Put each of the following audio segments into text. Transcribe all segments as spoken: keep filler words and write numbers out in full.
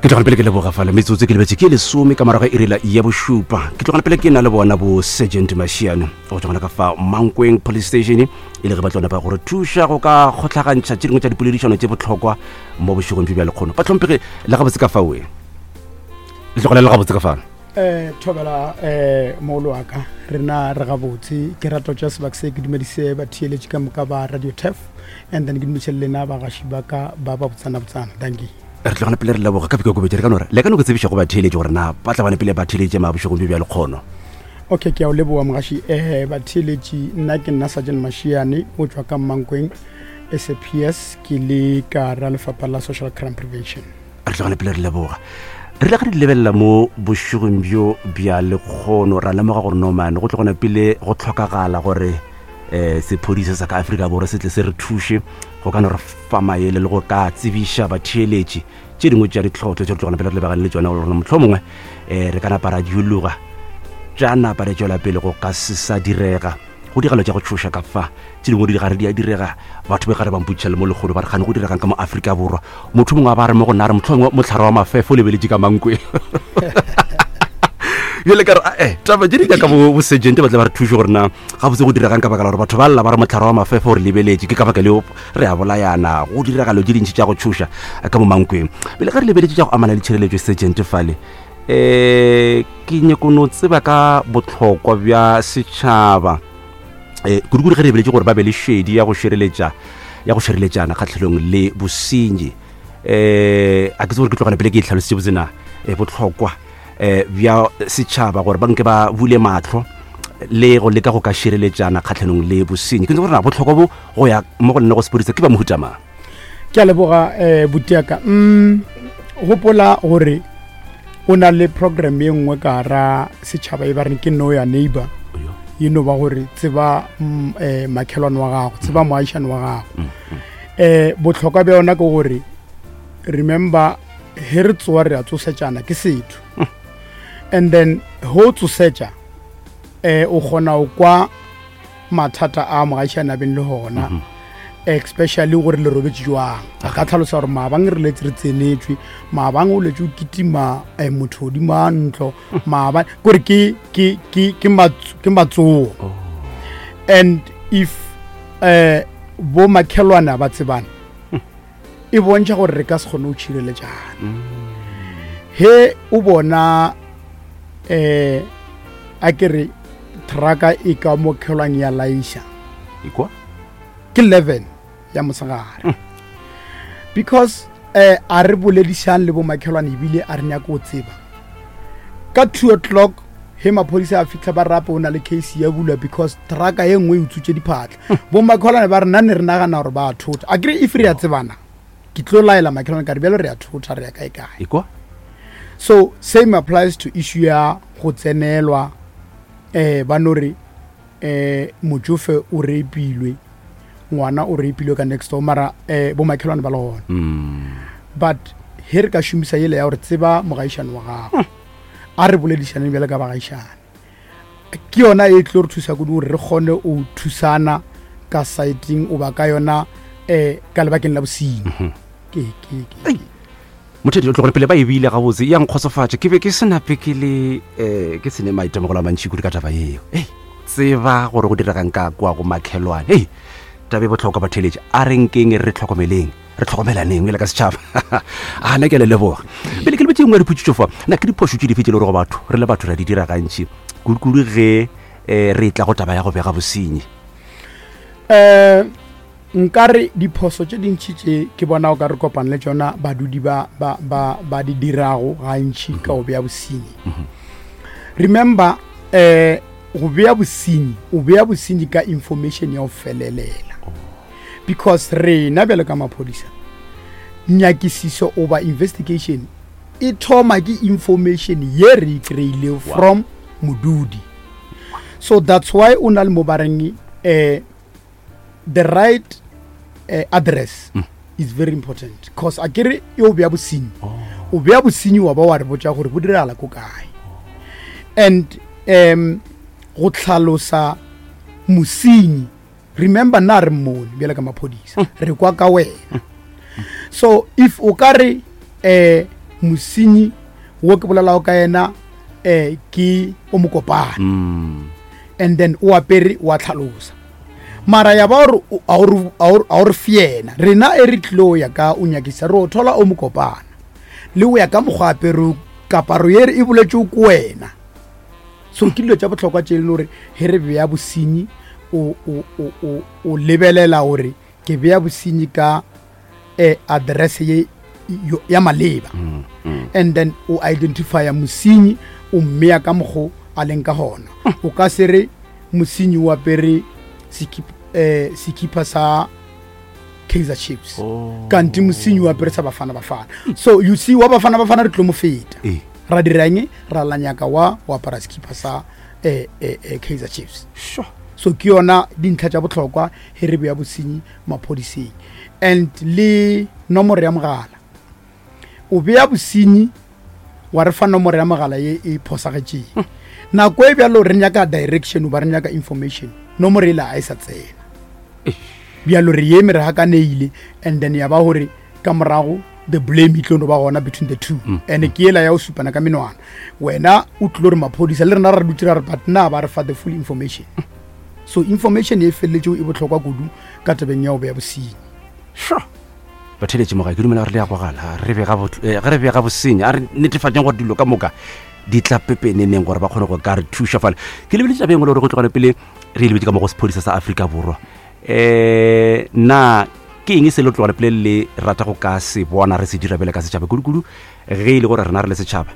Ke tlogane pele ke leboga fale metsotso ke lebetse ke lesome ka morago ga iri ya bošupa. Ke tlogane pele ke na le bona bo Sergeant Mashiane go tswa gona ka fa Mankweng Police Station, e le ge ba tlo napa gore thuša go ka kgohlagantšha tše dingwe tša dipoledišano tše bohlokwa mo bošegong bjo bja lekgono. Bahlomphegi, le gabotse ka faoe? Le tlogele le gabotse ka fano? um thobela um mogolo wa ka, rena re gabotse. Ke rata tša sebaka se ke dumedise batheeletši ka moka ba Radio Tef, and then ke dumediše le lena bagaši ba ka ba ba botsana botsana. Dankie. Re tlogane pele re leboga ka bikokobetše. Re ka no re le ka no ke tsebiša go batheeletši gore na ba tla bane pele ba theeletše ma bošegong bjo bja lekgono. Okay, ke a o leboga mogaši. um batheeletši, nna ke nna Sergeant Mashiane o tšwa ka Mankweng S A P S, ke le ka ra lefapha la social crime prevention. Re tlogane pele re leboga. Re ile ga di lebelela mo bošegong bjo bja lekgono, ra lemoga gore nomane go tlogona pele go tlhokagala gore um sephodisa sa ka Afrika Borwa se tle se re thuše go ka no re fa maele le go ka tsebiša batheeletši tše dingwe tša ditlhotlo tše re tlogona pele re lebagane le tšona, gore motlho mongwe um re ka napa ra diologa tša napa re tšwela pele go ka se sa direga. Go diragalo tša go tšhoša ka fa, tše dingwe di gare di a direga. Batho be gare ba mpotšiša le mo lekgolo, ba re gane go diregang ka mo Afrika Borwa. Motho mongwe a ba re mo go nna, a re motlho mongwe motlhare wa mafefo o lebeletše ka Mankweng. Bjale ka re ae, taba tše di nyaka bo bo sergeant ba tle ba re thuše gore na gabotse go diregang, ka baka la gore batho ba lla ba re motlhare wa mafefo o re lebeletše, ke ka baka leo re a bolayana, go diragalo tše dintši tša go tšhoša ka mo Mankweng. Pele ga re lebeletše tša go amana le tšhireletšo, sergeant fale, um ke nyako no tseba ka bohlokwa bja setšhaba, um kudu-kudu ge re lebeletše gore ba be le šedi ya go šireletša ya go šireletšana kgatlhanong le bosenyi. um a ke tse gore ke tlogane pele ke e tlhalositše botsena um bohlokwa um bja setšhaba gore ba nke ba bule matlho le go leka go ka šireletšana kgatlhanong le bosenyi. Ke ntse gore na bohlokwa bo go ya mo go lena go sepodisa ke ba mohuta mang? Ke a leboga um butiaka. mm gopola gore o na le program ye nngwe ka ra setšhaba e ba reng ke Know Your Neighbor, e no ba gore tseba mm, eh, makhelwane wa gago, tseba moagišane wa gago. um bohlokwa bja yona ke gore, remember, he re tsoa re a tsosetšana, ke setho, and then he o tsosetša um o kgona go kwa mathata a mogaešane a beng le gona, especially gore le robetse jwang. A ka tlhalosa gore maabang re letse re tsenetswe, maabang o letse o kitima um motho godimo a ntlo maabane, kore ke ke ke ke mats- ke matsogo. And if um bo makhelwane ba tsebane, e bontšha gore re ka se kgone go tšhireletšana. He o bona um a ke re trucka e ka mo khelwang ya laiša Ikwa. ke eleven ya mosegare, because eh a re boledišang le bomakhelwane, ebile a re nyake go tseba ka two o'clock he maphodisa a fitlha ba rape o na le case ya bulwa because trucka ye nngwe e utswitše diphatla. Bomakhelwane ba re nna ne re nagana gore ba a thota. A kere if re a tsebana, ke tlo laela makhelwane ka re bjalo re a thota, re ya kae kae. Ikwa. So same applies to issue ya go tsenelwa, eh ba no re eh motsofe o rapilwe, ngwana o rapilwe ka next door, mara eh bo makhelwane ba le gona. But he re ka šomisa yele ya gore tseba mogaišane wa gago, a re boledišaneng bjale ka bagaišane, ke yona e tlo re thusa kudu gore re kgone go thusana ka siting o ba ka yona um ka lebakeng la bosenyi. ke ke ke Mothedi o tlogole pele ba e bile gabotse ya nkgotsofatša. Ke be ke se nape ke le um ke sene maitemogelo a mantšhi kudu ka taba eo. Ei, tseba gore go diregang ka kwa go makhelwane. Ei, taba e bohlokwa. Batheletše, a re nkeng re tlhokomeleng, re tlhokomelaneng ele ka setšhaba. A na ke a le leboga. Pele ke lebetse nngwe ya diphutšitšo fa, na ke diphošo tše dife tše le gore go batho re le batho re a di dira gantši, kudu-kudu ge um re tla go taba ya go bega bosenyi? um nkare diphoso tše dintšhi tše ke bona o ka re kopana le tšona, badudi ba, ba, ba, ba di dirago gantši ka go bea bosenyi. Remember, um go bea bosenyi, o bea bosenyi ka information ya go felelela, because rena bjalo ka maphodisa, nyakisiso oba investigation e thoma ke information ye re e kry-ilego from modudi. So that's why o na le mo ba reng um the right uh, address mm. is very important, cause a kere e o bea bosenyi, o bea bosenyi wa ba wa re botša gore bo diragala ko kae, and um go tlhalosa mosenyi. Remember, nna re mmone bjale ka maphodisa, re kwa ka wena. So if o ka re um Mosenyi wo ke bolelago ka yena um ke o mokopana. Mm. And then o apere wa tlhalosa, mara ya ba gore a o re fe yena. Rena e re tlilo ya ka o nyakisa, re o thola o mokopana le o ya ka mokgwa apere, kaparo ye e boletse ko wena. So ke dilo tša bohlokwa tše e leng gore ge re beya bosenyi, o, o, o, o, o lebelela gore ke beya bosenyi ka eh, address ye yo- ya maleba. Mm. Mm. And then o identifya mosenyi, o mmeya ka mokgo a leng ka gona. O ka se re mosenyi o apere sekip- eh, sekipa sa Kaizer Chiefs, Oh. kanti mosenyi o apere sa Bafana Bafana. So you see, wa Bafana Bafana re tlo mo feta. Ee. Ra dirang? Ra lanyaka wa o apara sekipa sa eh, eh, eh, Kaizer Chiefs. Sure. So ke yona dintlha tša bohlokwa ge re beya bosenyi maphodiseng. And le nomoro ya mogala, o beya bosenyi wa re fa nomoro ya mogala ye e phosagetšeng. Nako e bjalo re nyaka direction ba re nyaka information, nomoro ela a e sa tsena. Bjalo re eme re hakaneile, and then ya ba gore ka morago the blame e tlo no ba gona between the two. And ke ela ya go supana ka menwana, wena o tlilo re maphodisa, le rena re dutse ra re, but na ba re fa the full information? So information e feleletšego e bohlokwa kudu ka tabeng ya go beya bosenyi. Sure. Batheletše moga, ke dumela gore le ya gogala re bega bot- eh, ge re bega bosenyi, a re netefatšeng gore dilo ka moka di tla pepeneneng gore ba kgone go ka re thuša fale. Ke lebeletse taba e nngwe le gore go tlogane pele re e lebetse ka mo go sephodisa sa Afrika Borwa. um na ke eng se le tlogane pele le rata go ka se bona re se dira bele ka setšhaba, kudu-kudu ge e le gore rena re le setšhaba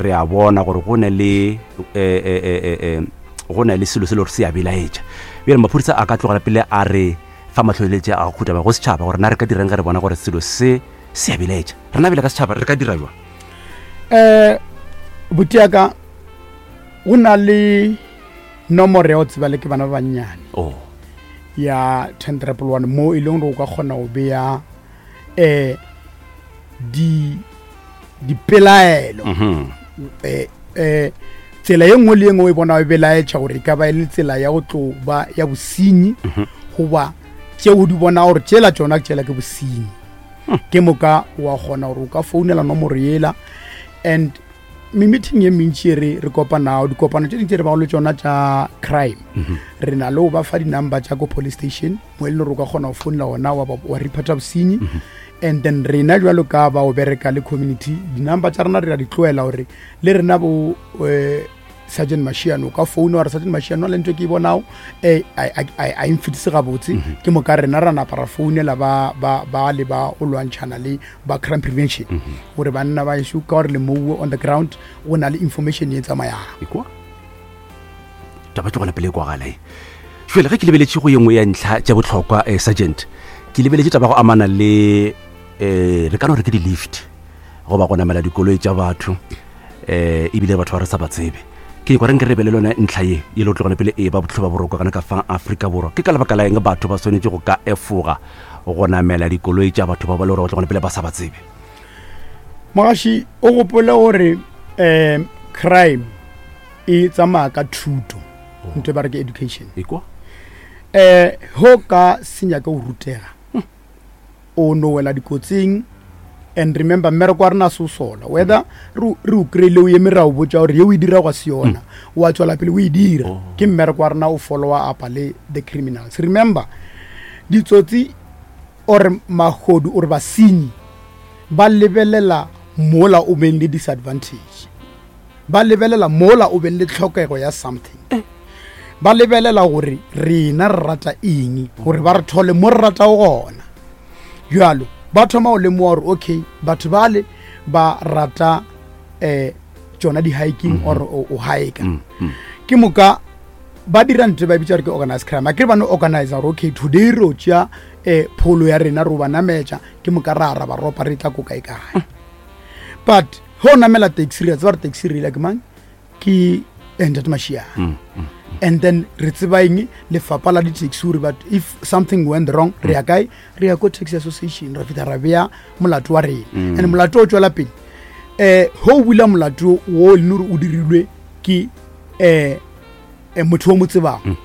re a bona gore go ne le eh, eh, eh, eh, eh, go na le selo se le gore se a belaetša? Bjale maphodisa a ka tlogela pele a re fa matlholetše a go khutama go setšhaba gore na re ka dirang ge re bona gore selo se se a belaetša? Rena bele ka setšhaba re ka dira jwa? Um botiaka, go na le nomoro ya go tseba le ke bana ba bannyane oh ya ten triple one, mo e leng gore o ka kgona go beya um di dipelaelo. Mhm. eh eh tsela ye nngwe le ye nngwe o e bona o belaetša gore e ka ba e le tsela ya go tlo ba ya bosenyi, goba tšeo di bona gore tšela tšona tšela ke bosenyi, ke moka wa kgona gore o ka founela nomoro yela. And me-meeting ye mentši e re re kopanago, dikopano tše dingwe tse re bago le tšona tša crime, re na le go ba fa di-number tša ko police station mo e leng gore o ka kgona go founela gona wa, ba- wa reporta bosenyi. And then rena jwalo ka ba o bereka le community, di-number tša rena re a di tloela gore le rena bo eh, Sergeant Mashiano, o ka founa wa re, "Sergeant Mashiano, le ntho e ke e bonago um a e mfetise gabotse." Ke moka rena ra napa ra founela ba ba ba le ba o lwantšhana le ba crime prevention gore banna ba ešo ka gore le moue on the ground o na le information ye tsamayang. Ekwa taba ke gona pele e kwagala e. Jale ge ke lebeletše go ye nngwe ya ntlha tša bohlokwa, um sergeant, ke lebeletše taba go amana le um re ka no re ke di-lift goba go namela dikoloi tša batho, um ebile batho ba re sa ba tsebe. Ke kwa re nke re be le lone ntlha ye e le go tlogane pele e ba botlho ba boroko gana ka fa Afrika Borwa. Ke ka lebaka la eng batho ba swanetše go ka efoga go namela dikoloi tša batho ba ba le gore go tlogane pele ba sa ba tsebe? Mogaši, o gopole gore um crime e tsamaya ka thuto, ntho e ba re ke education. Ekwa. um ho ka senya ke go rutega, o no wela dikotsing. And remember, mmereko wa rena se o sola, whether re re o kry-ile o eme, ra o botsa gore ye o e dira gwa se yona, wa tswela pele o e dira. Ke mmereko wa rena o followa up le the criminals. Remember, ditsotsi or mahodu or basenyi ba lebelela mola o beng le disadvantage, ba lebelela mola o beng le tlhokego ya something, ba lebelela gore rena re rata eng, gore ba re thole mo re ratago gona. Jalo ba thoma go lemoga gore okay, batho bale ba rata um tsona di-hiking or o o hika. Ke moka ba dira ntho e ba bitsa gore ke organize crime. A kere ba no organize gore okay, today re o tšea um pholo ya rena, re o ba nametša, ke moka ra ra ba ropa, re tla ko kae kae. But ge o namela taxi, re a tseba gore taxi reila ke mang, ke Ntate Mashiane. And then re tseba eng? Lefapha la di-taxi, gore but if something went wrong, re ya kae? Re ya ko taxi association, ra fihla ra beya molato wa rena. And molato o tswela pele um ge o bula molato wo e leng gore o dirilwe ke um motho o mo tsebang,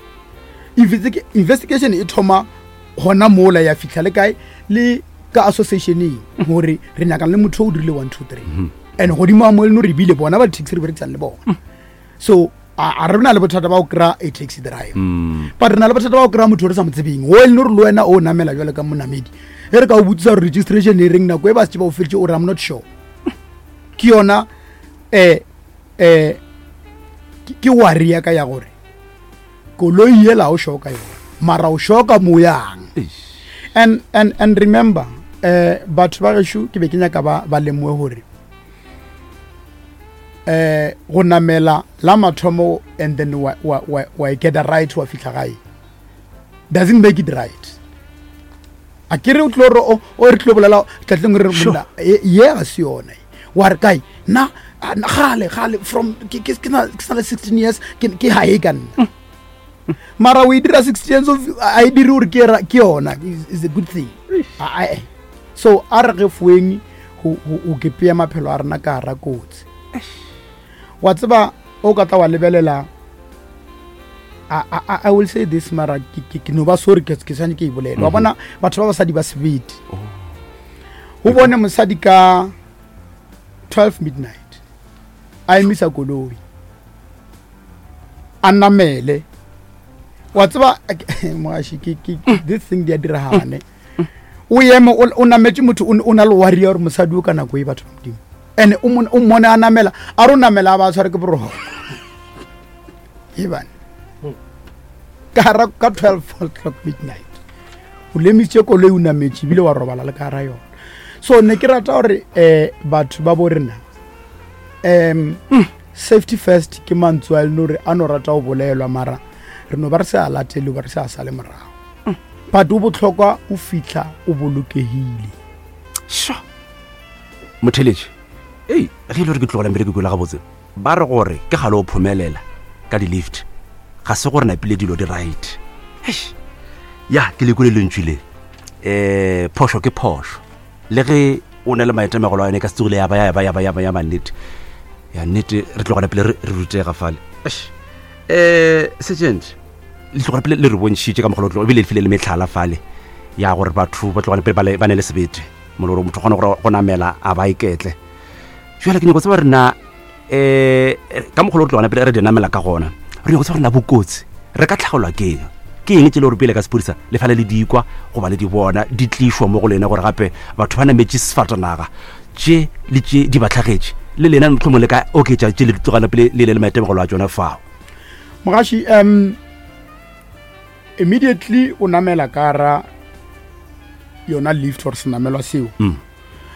Investi- investigation e thoma gona mola, ya fitlha le kae? Le ka associationeng, gore re nyakang le motho o dirile one two three. And godimo a mo e leng gore ebile bona ba di-taxi re berekisang le bona. So a a re na le bothata ba go kry-a a taxi driver, but re na le bothata ba go kry-a motho o re sa mo tsebeng, o e leng gore le wena o namela jwale ka monamedi, e re ka o botsisa gore registration e reng, nako e ba setse ba o feditse, o re, "I'm not sure." Ke yona um um ke worry ya ka ya gore koloi ela o sure ka yona, mara o sure ka mo yang? and and and remember, eh batho ba gešo, ke be ke nyaka ba ba lemoe gore eh go namela la mathomo and then wa wa wa, wa get a right, wa fihla gae, doesn't make it right. A ke re o tlo re o o re tlo bolela tlatleng re Sure. monna ye ye ga se yona e. Wa re kae nna a, na- gale gale from ke ke ke na ke sa le sixteen years, ke ke hae ka nna, mara o e dira sixteen years of a e dire gore ke ra- ke yona is is a good thing. A- a- so a re ge foeng go go ke pea maphelo a rena ka gara kotsi. Wa tseba, o ka tla wa lebelela, I, I, I will say this, mara ke, ke, ke no ba sorry, ke ke swane ke e bolela. Wa bona batho ba basadi ba sebete, o bone mosadi ka twelve midnight a emisa koloi, a namele. Wa tseba, mogaši, ke ke this thing di a diragane. O eme, o o nametše motho, o o na le worry ya gore mosadi o ka nako e, batho ba Modimo, and o mon- o mmone a namela, a re o namela, a ba a tshware ke boroko ebane ka gara ka twelve o'clock midnight. O lemisitše koloi, o nametše, ebile wa robala le ka gara yona. So ne ke rata gore um batho ba bo rena, um safety first ke mantswe a e leng gore a no rata go bolelwa, mara re no ba re se a latele, ba re se a sale morago, but o botlhokwa o fitlha o bolokegile. Sure, motheletše, ei, ge e le gore ke tlogela mmereko ke la gabotse, ba re gore ke gale o phomelela ka di-lift, ga se gore napile dilo di right. Eish, ya ke lekole lentšu le, um phošo ke phošo, le ge o na le maitemegelo a yone, ka se tsogile ya ba ya ba ya ba ya ba ya mannete ya nnete. Re tlogela pele re re rutega fale. Eish, um sergeant, le tlogela pele le re bontšhitše ka mogolo, ebile le file le metlhala fale ya gore batho ba tlogela pele ba le- ba ne le sebete mo le gore motho o kgone gore go namela a ba iketle. Jale ke nyako tseba rena, um ka mogolo re tlogana pele re di namela ka gona, re nyako tseba rena bokotsi re ka tlhagelwa ke eng, ke eng tse le gore pele ka sepodisa le fale le dikwa goba le di bona di tlišwa mo go lena, gore gape batho ba nametše sefatanaga tše le tše di ba tlhagetše, le lena mohlomong le ka oketša tše le di tlogana pele le le le maitemogelo a tsona fao? Mogaši, um immediately o namela ka ra yona lift or senamelwa seo, Mm.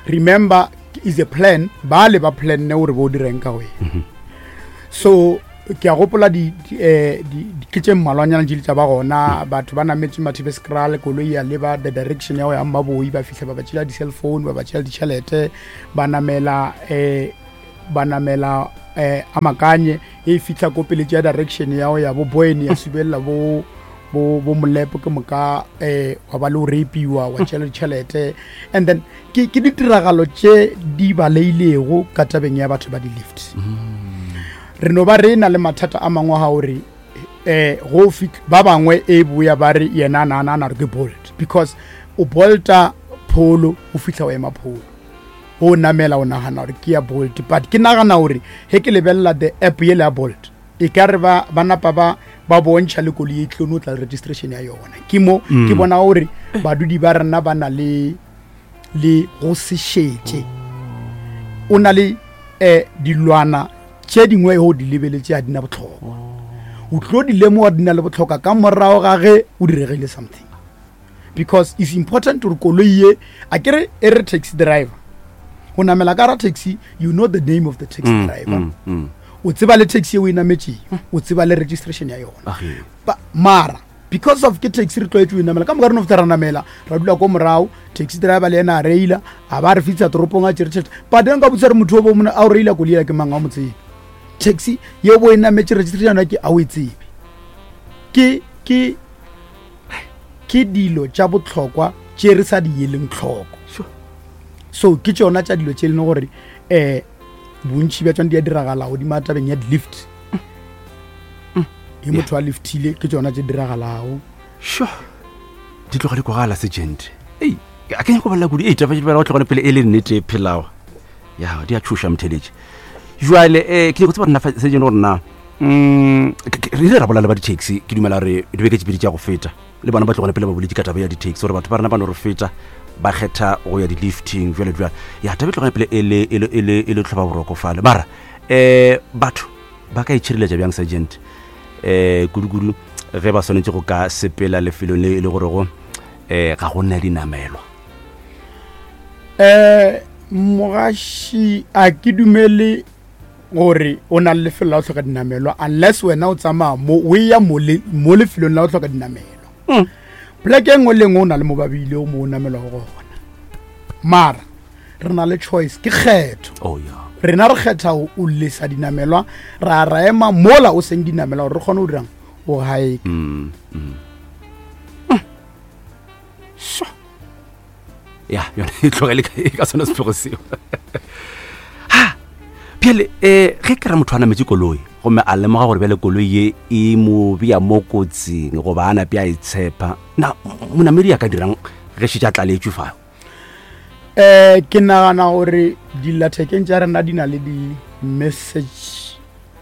remember is a plan, ba le ba planne gore bo direng ka wena. So ke a gopola di di, eh, di- di- ke tše mmalwanyana tše di tša ba gona, batho ba nametše Mathibeskraal, koloi ya leba the direction ya go ya Mmaboi, ba fitlha ba ba tšela di-cell phone, ba ba tšela ditšhelete, ba namela um ba namela um a makanye e fitlha ko pele tša direction ya go ya bo Boyne, ya subelela bo bo bo Molepo, ke moka um wa ba le o rapiwa, wa tšela ditšhelete. And then ke ke ditiragalo tše di baleilego ka tabeng ya batho ba di-lift. Re no ba re na le mathata a mangwe ga gore um go fitlh ba bangwe e boya ba re yena a nagana a na re ke Bolt, because o bolta pholo, o fitlha o ema pholo, o namela, o nagana gore ke ya Bolt. But ke nagana gore ge ke lebelela the app yele ya Bolt, e ka re ba ba napa ba ba bontšha le koloi e tlo no tla le registration ya yona. Ke mo ke bona gore badudi ba rena ba na le le go se šetše. O na le um dilwana tše dingwe go di lebeletše ga di na botlhokwa, o tlo di lemoga di na le botlhokwa ka morago ga ge o diregile something, because it's important gore koloi ye, a kere e re taxi driver o namela ka ra taxi, you know the name of the taxi Mm, driver, mm, mm. o tseba le taxi e o e nametšeng, o tseba le registration ya yona. Age. Ba- mara because of ke taxi re tlwaetse o e namela ka moka, re no feta ra namela, ra dula ko morago, taxi driver le ena a reila, a ba re fitlha toropong a tšere tšhelete. But then ka botsa re motho o bo mona a o reila koloi ela ke mang, a o mo tsebe. Taxi ye bo e nametše, registration ya yona ke a o e tsebe. Ke ke ke dilo tša botlhokwa tše re sa di eleng tlhoko. Sure. So ke tšona tša dilo tše e leng gore um bontšhi bja tšona di a diragala godimo a tabeng ya di-lift e motho a liftile, ke tšona tše diragalago. Sure, di tloga di kwagala, sergeant. Ei, a ke nyako bolela kudu. Ei, taba go tlogone pele e le nnete e phelago. Ya, di a tšhoša motheletši. Jwale um ke nyako tseba rena sejene gore na mm, re ile ra bolela ba di-taxi, ke dumela gore dibeke tše pedi tša go feta le bona ba tlogone pele ba boletse ka taba ya di-taxi, gore batho ba rena ba no re feta ba kgetha go ya di-lifting jwale jwale. Ya taba e tlogone pele e le e le e le e le tlhoba boroko fale. Mara um batho ba ka itšhireletša bjang, sergeant, um kudu-kudu ge ba swanetše go ka sepela lefelong le e le gorego um ga go nna dinamelwa? Um mogaši, a ke dumele gore o na le lefelo la go hloka dinamelwa unless wena o tsamaya mo o ya mo lefelong la go hloka dinamelwa. Mm. Poleke e nngwe le nngwe o na le mo babile o mo o namelwago gona, mara re na le choice, ke kgetho. Oh yeah. Rena re kgetha o lesa dinamelwa, ra ra ema mola o seng dinamelwa gore re kgone go dirang o gae. mm, mm. So ya yone e tlogele ka- ka sona setlhogo seo. Ha bjale um ge ke ra motho a nametse koloi gomme a lemoga gore bjale koloi ye e mo bea mo kotsing goba a nape a e tshepa, na monamedi a ka dirang ge šetše a tlaletswe fa? um ke nagana gore dillathekeng tša rena di na le di-message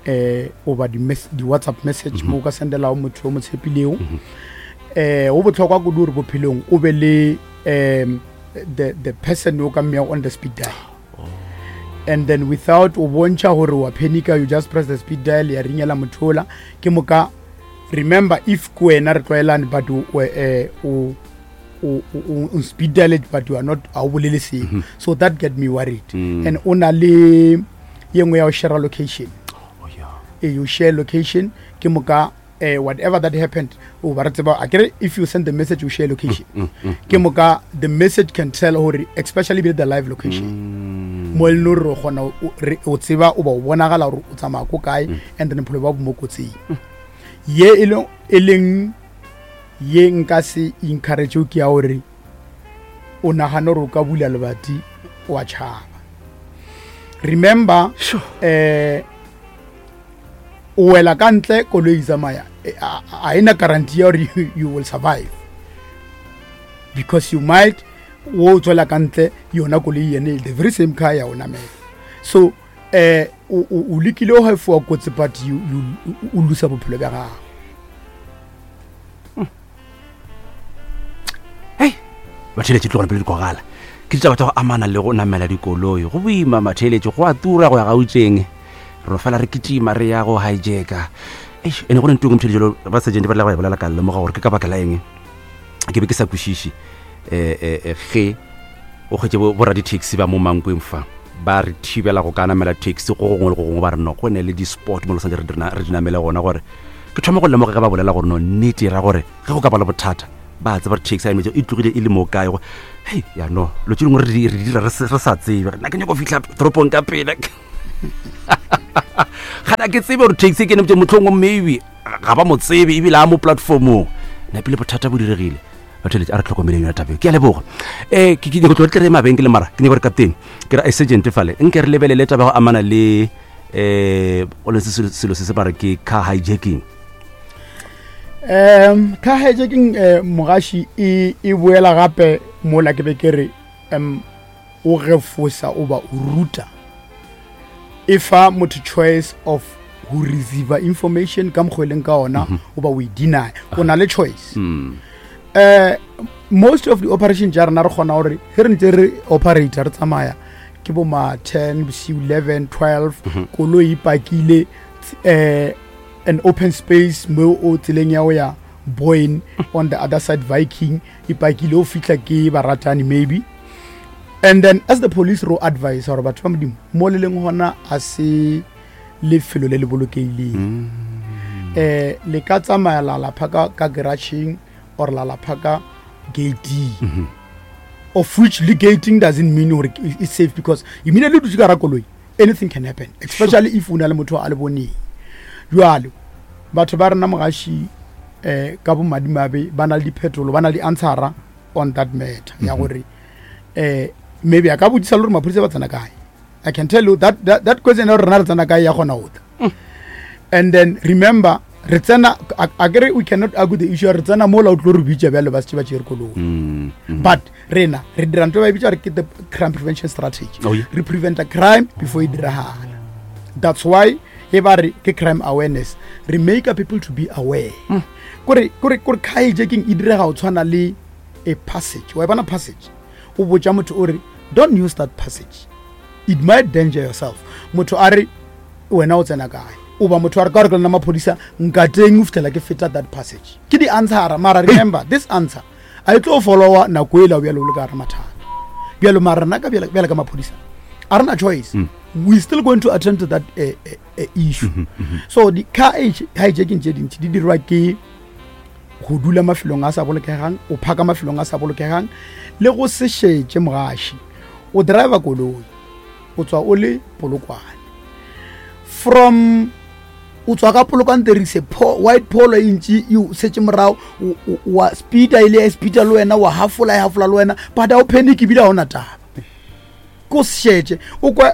um goba di-WhatsApp message mo o ka sendelago motho o mo tshepilego. um go botlhokwa kudu gore bophelong o be le um the, the person o ka mmeago on the speed dial, and then without o bontšha gore wa panica, you just press the speed dial, ya ringela motho ola. Ke moka remember, if ke wena re tlwaelane, but o, o, eh, o o o o speed dial it, but you are not, a o bolele seo, so that get me worried. Mm. And o na le ye nngwe ya go share location. Oh yeah. Eh, you share location, ke moka eh, whatever that happened, o ba re tseba akere if you send the message, you share location, mm, mm, ke moka the message can tell gore, especially be the live location, Mm. mo e leng gore o kgona o- re- o tseba o ba o bonagala gore o tsamaya ko kae, and then bophelo ba bo mo kotsing ye e leng e leng ye nka se encourage ke ya gore o nagane gore o ka bula lebati wa tšhaba. Remember, Sure. eh o wela ka ntle, koloi e tsamaya, eh, a a ena guarantee ya gore you, you will survive, because you might o tswela ka ntle, yona koloi yene, the very same car ya o namela. So eh o o o lekile go efoa kotsi, but you you o losa bophelo bja gago. Hei, batheletše, tlogone pele di kwagala ke ditaba tša go amana le go namela dikoloi. Go boima matheletše, go a tura go ya Gauteng, re no fela re kitima re ya go hijacka. Eish, ene go ne ntong motheletše jalo ba sergeant ba rile ba e bolela, ka lemoga gore ke ka baka la eng ke be ke sa kwešiše um ge o kgwetse bo raditaxi ba mo Mankweng fa ba re thibela go ka namela taxi go gongwe le go gongwe, ba re no go ne le di-spot mo le santse re di re di namele gona. Gore ke thoma go lemoga ge ba bolela gore no nnete e ra gore ge go ka ba le bothata, ba tseba gore taxi a emetse e tlogile e le mo kae. Go hei, ya no lo tse dingwe re di re di dira re se- re sa tsebe. Nna ke nyako fitlha toropong ka pele, gana ke tsebe gore taxi e ke nemetse motlhongwe maybe ga ba mo tsebe ebile a mo platformong napile bothata bo diregile. Batho a re tlhokomeleng yona tabeo. Ke a leboga. um ke ke nyako tlo tle re mabenkele, mara ke nyako gore captain, ke ra sergeant fale, nke re lebelele taba ya go amana le um o le selo selo se se ba re ke car hijacking. um car hijacking, um mogaši, e e boela gape mola ke be ke re um o gefosa o ba o ruta, e fa motho choice of go receive information ka mokgwa e leng ka ona o ba o e deny. O na le choice. Mm. uh, most of the operation tša rena, re kgona gore ge re ntse re operate, re tsamaya ke bo ma ten bosiu, eleven, twelve, koloi e pakile um an open space mo o tseleng ya go ya Boyne, on the other side Viking, e pakile, o fitlha ke baratani maybe, and then as the police ro advise gore batho ba Modimo mo le leng gona a se lefelo le le bolokehileng. um le ka tsamaya la la phaka ka garageng or la la phaka gating, of which le gating doesn't mean gore it's safe, because immediately o dutse ka ra koloi, anything can happen, especially if o na le motho a le boneng. Jwale batho ba rena, mogaši, um ka bomadimabe ba na le diphetolo, ba na le di-answera on that matter ya gore um maybe a ka botsisa le gore maphodisa ba tsena kae. I can tell you that, that, that question ya gore rena re tsena kae ya kgona go tla. And then remember, Re tsena, a kere we cannot argue the issue, re tsena mola o tlo re bitša bjale ba setse ba tšere koloi. Mm, mm. But rena re dira ntho e ba e bitša gore ke the crime prevention strategy. Oh, yeah. Re preventa crime before e diragala. That's why e ba re ke crime awareness, re make people to be aware kore kore kore car hijacking e direga go tshwana le a passage. Wa e bona passage, o botša motho o re, "Don't use that passage, it might danger yourself." Motho a re, "Wena o tsena kae?" O ba motho a re, "Ka gore ke lena maphodisa, nkateng o fitlhela ke feta that passage." Ke di-answera, mara remember, this answer a e tlo followa nako e la bjalo o le ka gare mathata bjalo. Mara rena ka bjale ka maphodisa a rena choice, we still going to attend to that uh, uh, uh, issue. So di-car hijacking tše dintši di dirwa ke go dula mafelong a sa bolokegang, o phaka mafelong a sa bolokegang, le go se šetše. Mogaši, o driver koloi, o tswa o le Polokwane, from o tswa ka Polokwane, there is a po, white Polo e ntši e o setse morago, o- o- wa speeda, ile ya speeda le wena, wa hafola, e hafola le wena, but a o panic ebile ga o na taba, ko se šetše. O kwa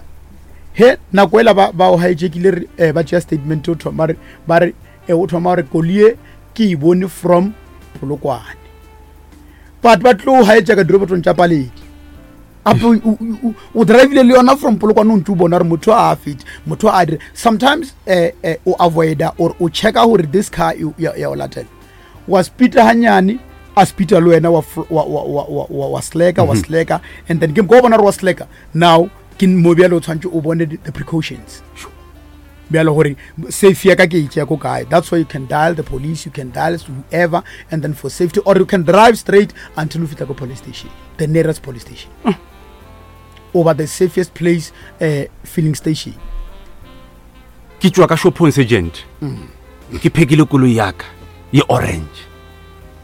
he nako ela ba ba o hijackile, re eh, ba tšea statement, o thoma re ba re eh, o thoma gore kolie ke e bone from Polokwane, but ba tlo hijacka dirobotong tša Paledi. Ape o- o- o drivile le yona from Polokwane, o ntse o bona gore motho a fete, motho a dire. Sometimes eh, eh, o avoida or o checka gore this car e- ya ya o latela, wa speeda hanyane, a speeda le wena, wa fl- wa- wa- wa- wa- wa- wa slacka, wa slacka, and then ke ko bona gore wa slacka. Now ke mo bjale o tshwanetse o bone the the precautions bjalo gore safe ya ka ke e tšea ko kae. That's why you can dial the police, you can dial whoever, and then for safety, or you can drive straight until o fihla ko police station, the nearest police station over the safest place, uh, filling station. Ke tšwa ka shopong, sergeant, ke phekile koloi yaka ye orange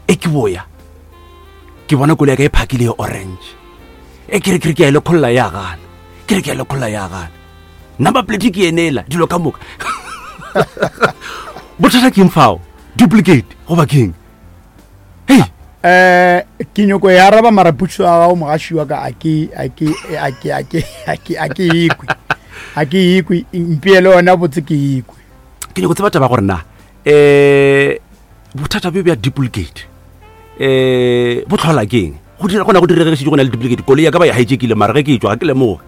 e, ke boya ke bona koloi ya ka e phakile ye orange e. Ke re ke re ke ya e lekgolola, ya gana. Ke re ke ya lekgolola, ya gana. Number plate ke enela, dilo ka moka. Bothata keng fao? Duplicate goba keng? Hei! Eh, ke nyoko e araba, mara potso ya gago, mogaši wa ka, a ke a ke a ke a ke a ke a ke ekwe, a ke ekwe. Mpeele yona botse, ke ekwe. Ke nyako tseba taba gore na um bothata bjo bja duplicate um bo tlhola keng? Go dira gona go diregesitse go na le duplicate koloi ya ka ba e hijackile, mara ge ke tswa ga ke lemoge,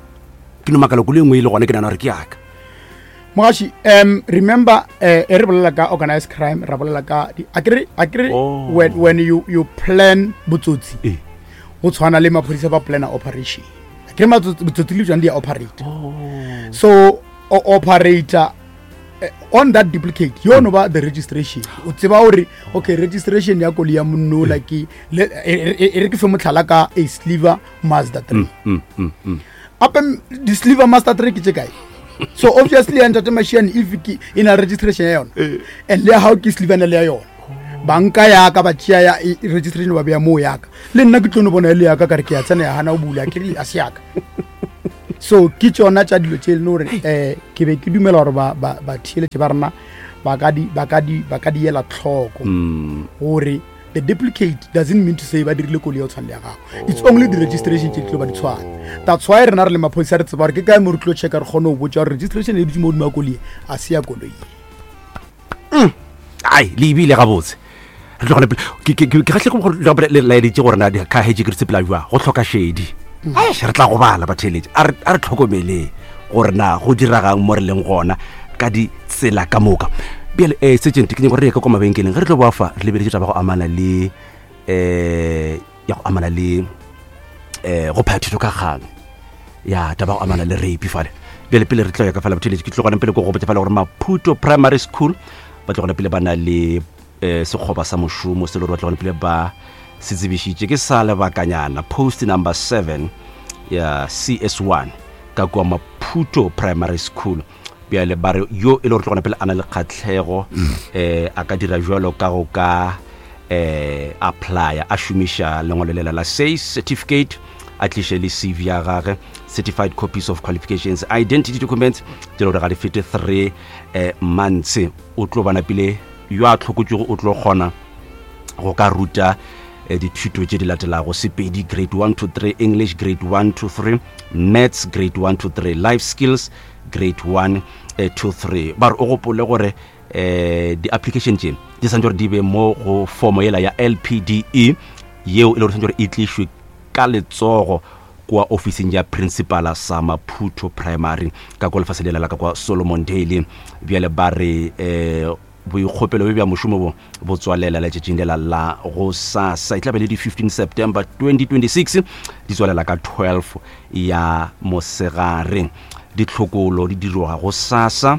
ke no makala koloi e nngwe e le gona, ke nana gore ke yaka. Mogaši, um remember, eh, e re bolela ka organized crime, ra bolela ka di- akere akere Oh. when, when you, you plan botsotsi, Ee. go tshwana le maphodisa ba plana operation, akere matsotsi- botsotsi le jone di a operate. So o operator eh, on that duplicate yo no ba the registration, o tseba gore okay, registration ya koloi ya monnola ke le- e e- e re ke fe motlhala ka a sliver Mazda three. Mm, mm, mm. Ape di-sliver Mazda three ke tše kae? So obviously ya ntate Mashiane, if ke e na le registration ya yona and le ya gao ke slivana le ya yona, banka yaka ba tšea ya e- e registration ba beya moo yaka, le nna ke tlo no bona e le yaka, ka re ke ya tsena, ya gana o bula, ke re a se yaka. So ke tšona tša dilo tše e leng gore um ke be ke dumela gore ba- ba- batheeletše ba rena ba ka di- ba ka di ba ka di ela tlhoko Mm. gore the duplicate doesn't mean to say ba dirile koloi ya go tshwana le ya gago. It's only the registration tše di tlo ba di tshwana. That's why rena re le maphodisa re tseba gore ke kae mo re tlo checka, re kgone go botsa gore registration e dutse mo godimo ya koloi, a se ya koloi. Ai, le ebile gabotse re tlogele pele. Ke- ke ke- ke kgatlhego gore le- le laeditše gore na ka hetse ke re sepela jwa go tlhoka šedi. Ai, re tla go bala batheeletše, a re a re tlhokomeleng gore na go diregang mo re leng gona ka ditsela ka moka. Bjale um sergeant, ke nyako gore re ye ka kwa mabenkeleng. Ge re tlo boa fa, re lebeletše taba go amana le um ya go amana le um go phaya thuto ka kgang ya taba go amana le rape fale. Bjale pele re tlo ya ka fela, botheletše, ke tlogana pele ko go botsa fela gore Maputo Primary School ba tlogana pele ba na le um sekgoba sa mošomo se le gore ba tlogana pele ba se tsebišitše ke sa lebakanyana, post number seven ya C S one ka kua Maputo Primary School. Bjale ba re yo e le gore tlogana pele a na le kgatlhego um a ka dira jalo ka go ka eh applya a šomiša lengwalo lela la SACE certificate, a tliše le C V ya gage, certified copies of qualifications, identity documents tše le gore ga di fete three eh, months. O tlo bana pele yo a tlhokotšego o tlo kgona go ka ruta eh, dithuto tše di latelago: Sepedi grade one to three, English grade one to three, maths grade one to three, life skills grade one eh, to three. Ba re o gopole gore um di-application tše di santse gore di be mo go formo yela ya L P D E yeo e le gore santse gore e tlišwe ka letsogo kwa ofising ya principala sa Maputo Primary ka kwa lefase lela la ka kwa Solomon Daily. Bjale ba re um boikgopelo bja mošomo bo bo tswalela letšatšing lela la go sasa, e tla be le di fifteen September twenty twenty-six, di tswalela ka twelve ya mosegare. Ditlhokolo di dirwa go sasa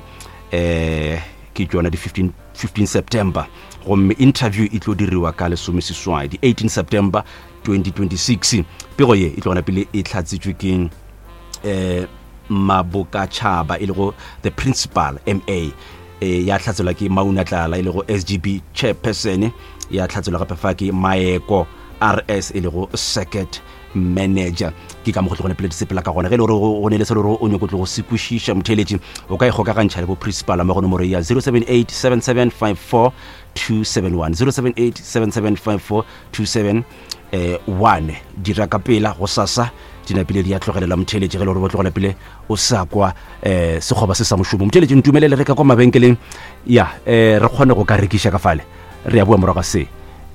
eh ke tšona di fifteen September, gomme interview e tlo diriwa ka lesomeseswai di eighteen September twenty twenty-six. Pego ye e tlo gona pele e hlatsitšwe ke eh Mabokatšhaba e lego the principal M A, e ya hlatselwa ke Mauna Tlala e lego S G B chairperson, ya hlatselwa gape fa ke Maeko R S e lego circuit manager. Ke ka mo go tlogone pele di sepela ka gona. Ge e le gore go ne le se le gore o nyako tlo go se kwešiša motheeletši, o ka ikgokagantšha le bo principal mo go nomoro ya zero seven eight seven seven five four two seven one, zero seven eight seven seven five four two seven one. Dira ka pela go sasa dinapile di a tlogelela motheeletši ge e le gore bo tlogela pele o sa kwa um sekgoba se sa mošomo. Motheeletši ntumelele re ka kwa mabenkeleng ya um re kgone go ka rekiša ka fale, re ya bua morago se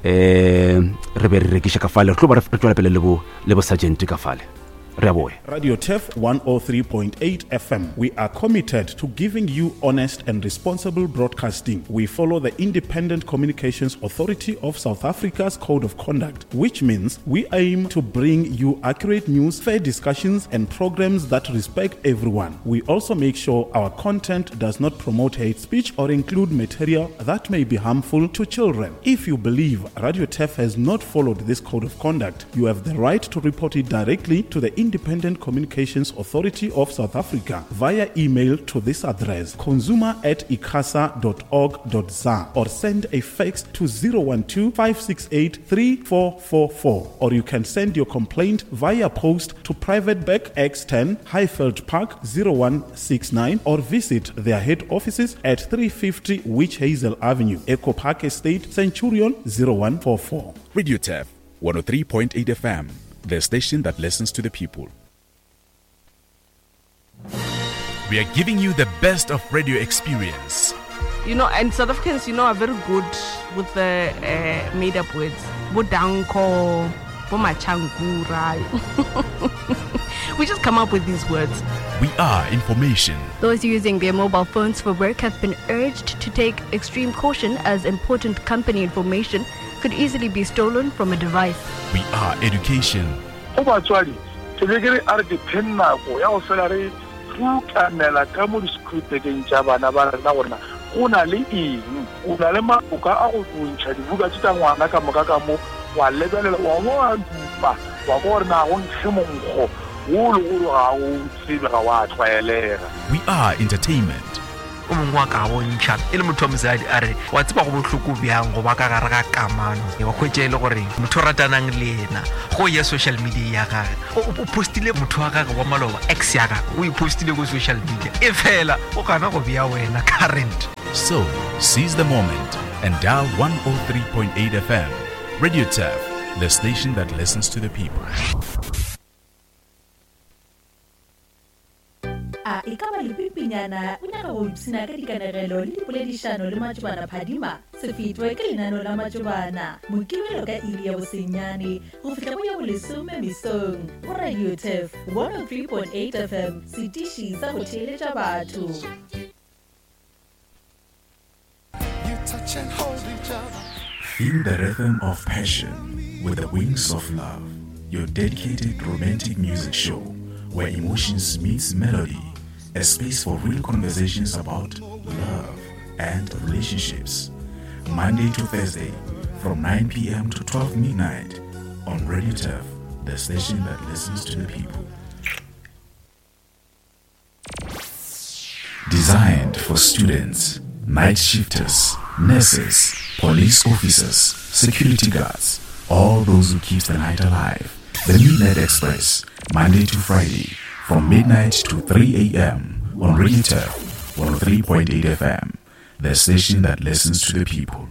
um re be re rekiša ka fale, re tlo ba re tswela pele le bo le bo sergeant ka fale. Re a boya. Radio Turf one oh three point eight F M. We are committed to giving you honest and responsible broadcasting. We follow the Independent Communications Authority of South Africa's Code of Conduct, which means we aim to bring you accurate news, fair discussions, and programs that respect everyone. We also make sure our content does not promote hate speech or include material that may be harmful to children. If you believe Radio Turf has not followed this Code of Conduct, you have the right to report it directly to the Independent Communications Authority of South Africa via email to this address, consumer at icasa dot org dot za, or send a fax to zero one two, five six eight, three four four four, or you can send your complaint via post to Private Bag X ten, Highveld Park zero one six nine, or visit their head offices at three fifty Witch Hazel Avenue, Echo Park Estate, Centurion zero one four four. Radio Turf one oh three point eight F M, the station that listens to the people. We are giving you the best of radio experience. You know, and South Africans, you know, are very good with the uh, made-up words. Bodanko, Bomachangura. We just come up with these words. We are information. Those using their mobile phones for work have been urged to take extreme caution as important company information could easily be stolen from a device. We are education. Go batswadi, ke be ke re a re ke pheng nako ya go fela re rutamela ka mo di-scripteng tša bana ba rena gore go na le eng, o na le maboka a go bontšha dibuka tše tša ngwana ka moka ka mo, wa lebelela wa bo wa dupa wa kwa gore na go nkge monkgo wo le gore ga o tsebe ga wa tlwaelega. We are entertainment. O mongwe wa ka bontšha e le motho wa mosadi a re wa tseba go bohloko bjang go ba ka gare ga kamano, wa hwetša e le gore motho o ratanang le yena go ya social media ya gage o postile motho wa gage wa maloba ex ya gage o e postile go social media e fela o gana go bea wena current. So seize the moment and dial one oh three point eight F M. Radio Turf, the station that listens to the people. A e ka ba lepipinyana o nyaka go ipshina ka dikanegelo le dipoledišano le Matšobana Phadima? Se fetwe ke lenaneo la Matšobana Mokibelo ka iri ya bosenyane go fihla go ya bolesome mesong go Radio Turf one oh three point eight F M, setiši sa go theeletša batho. Feel the rhythm of passion with the wings of love, your dedicated romantic music show where emotions meets melody, a space for real conversations about love and relationships. Monday to Thursday from nine p.m. to twelve midnight on Radio Turf, the station that listens to the people. Designed for students, night shifters, nurses, police officers, security guards, all those who keep the night alive. The Midnight Express, Monday to Friday, from midnight to three a.m. on Radio Turf one oh three point eight F M, the station that listens to the people.